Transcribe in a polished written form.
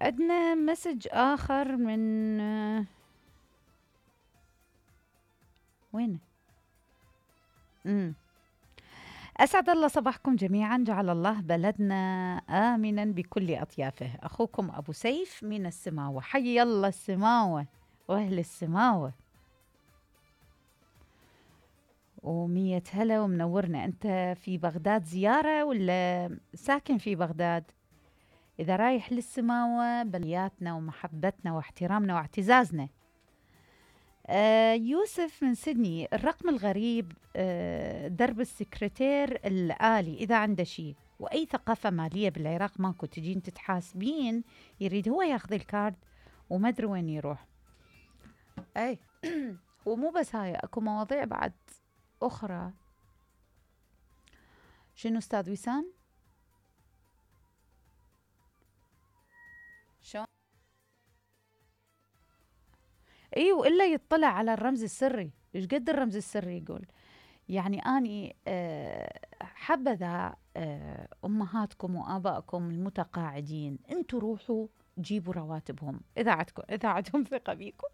عندنا مسج آخر من وينه؟ أسعد الله صباحكم جميعا، جعل الله بلدنا آمنا بكل أطيافه. أخوكم أبو سيف من السماوة، حي الله السماوة وأهل السماوة، ومية هلا ومنورنا. أنت في بغداد زيارة ولا ساكن في بغداد؟ إذا رايح للسماوة بلياتنا ومحبتنا واحترامنا واعتزازنا. يوسف من سيدني، الرقم الغريب درب السكرتير الآلي إذا عنده شيء، وأي ثقافة مالية بالعراق ماكو، تجين تتحاسبين يريد هو ياخذ الكارد وما أدري وين يروح. أي ومو بس هاي، أكو مواضيع بعد أخرى. شنو أستاذ وسام؟ شو؟ ايوه، الا يطلع على الرمز السري. ايش قد الرمز السري يقول؟ يعني اني حبذا امهاتكم وابائكم المتقاعدين، انتوا روحوا جيبوا رواتبهم اذا عندكم ثقه بيكم.